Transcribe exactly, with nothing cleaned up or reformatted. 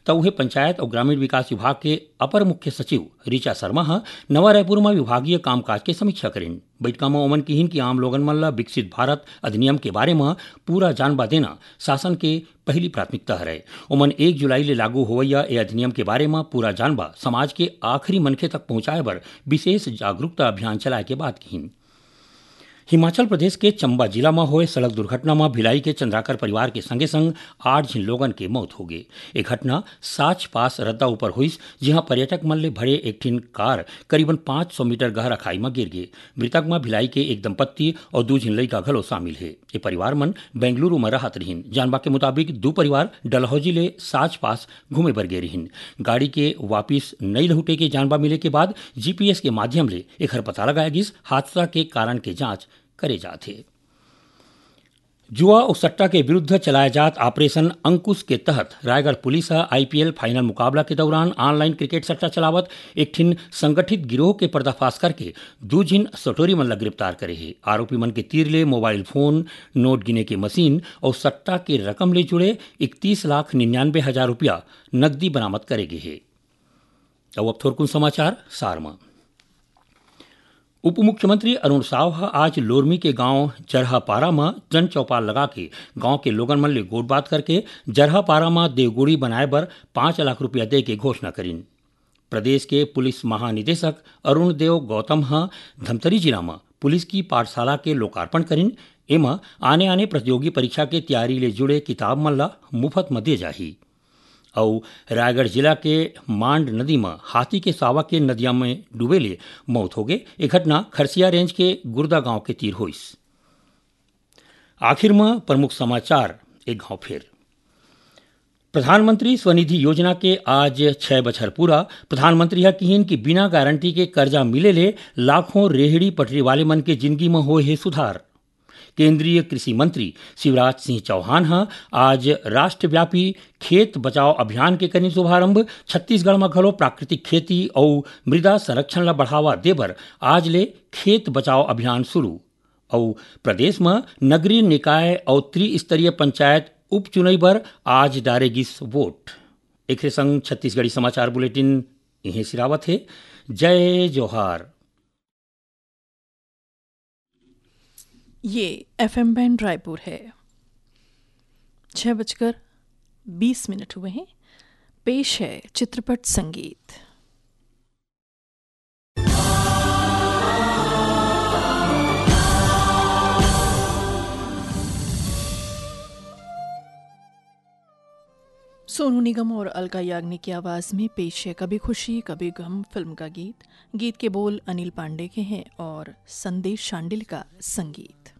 त उहे पंचायत अउ ग्रामीण विकास विभाग के अपर मुख्य सचिव ऋचा शर्मा ह नवा रायपुर म विभागीय कामकाज के समीक्षा करिन। बइठका म ओमन किहिन कि आम लोगन मन ल विकसित भारत अधिनियम के बारे म पूरा जानबा देना शासन के पहिली प्राथमिकता हरय। ओमन एक जुलाई ले लागू होवइया ए अधिनियम के बारे म पूरा जानबा समाज के आखिरी मनखे तक पहुंचाए बर विशेष जागरूकता अभियान चलाए के बात किहिन। हिमाचल प्रदेश के चंबा जिला म होए सड़क दुर्घटना म भिलाई के चंद्राकर परिवार के संगे संग आठ झिन लोगन के मौत होगे। ए घटना साच पास रद्दा ऊपर होइस, जिहां पर्यटक मन ले भरे एक ठिन कार करीबन पाँच सौ मीटर गहरा खाई म गिर गे। मृतक म भिलाई के एक दंपत्ति अउ दू झिन लइका घलो शामिल हे। ये परिवार मन बेंगलुरु म रहत रहिन। जानबा के मुताबिक, दू परिवार डलहौजी ले साच पास घूमे बर गे रहिन। गाड़ी के वापिस नइ लहुटे के जानबा मिले के बाद जीपीएस के माध्यम ले एखर पता लगाया गिस। हादसा के कारण के जांच करे जात हे। जुआ अउ सट्टा के विरुद्ध चलाए जात ऑपरेशन अंकुश के तहत रायगढ़ पुलिस ह आईपीएल फाइनल मुकाबला के दौरान ऑनलाइन क्रिकेट सट्टा चलावत एक ठिन संगठित गिरोह के पर्दाफाश करके दू झिन सटोरी मन ल गिरफ्तार करे हे। आरोपी मन के तीर ले मोबाइल फोन, नोट गिने के मशीन अउ सट्टा के रकम ले जुड़े इकतीस लाख निन्यानवे हजार रुपया नकदी बरामद करे गे हे। अउ अब थोरकुन समाचार सार म। उप मुख्यमंत्री अरुण साव ह आज लोरमी के गांव जरहापारा म जनचौपाल लगा के गांव के लोगन मन ले गोठबात करके जरहापारा म देवगुड़ी बनाए बर पाँच लाख रुपया दे के घोषणा करिन। प्रदेश के पुलिस महानिदेशक अरुण देव गौतम ह धमतरी जिला म पुलिस की पाठशाला के लोकार्पण करिन। एमा आने-आने प्रतियोगी परीक्षा के तैयारी ले जुड़े किताब मन ल मुफत म दे जाही। अउ रायगढ़ जिला के मांड नदी म हाथी के सावा के नदिया म डूबे ले मौत होगे। ए घटना खरसिया रेंज के गुर्दा गांव के तीर होइस। आखिर म प्रमुख समाचार एक घांव फेर। प्रधानमंत्री स्वनिधि योजना के आज छह बछर पूरा। प्रधानमंत्री ह किहिन कि बिना गारंटी के करजा मिले ले लाखों रेहड़ी पटरी वाले मन के जिनगी म होए हे सुधार। केंद्रीय कृषि मंत्री शिवराज सिंह चौहान ह आज राष्ट्रव्यापी खेत बचाओ अभियान के करिन शुभारंभ। छत्तीसगढ़ म घलो प्राकृतिक खेती अउ मृदा संरक्षण ल बढ़ावा देबर आज ले खेत बचाओ अभियान शुरू। अउ प्रदेश म नगरीय निकाय अउ त्रिस्तरीय पंचायत उपचुनई बर आज डारे गिस वोट। एखरे संग छत्तीसगढ़ी समाचार बुलेटिन इहें सिरावत हे। जय जोहार। ये एफएम बैंड रायपुर है। छह बजकर बीस मिनट हुए हैं। पेश है चित्रपट संगीत। सोनू निगम और अलका याग्निक की आवाज में पेश है कभी खुशी कभी गम फिल्म का गीत। गीत के बोल अनिल पांडे के हैं और संदेश शांडिल का संगीत।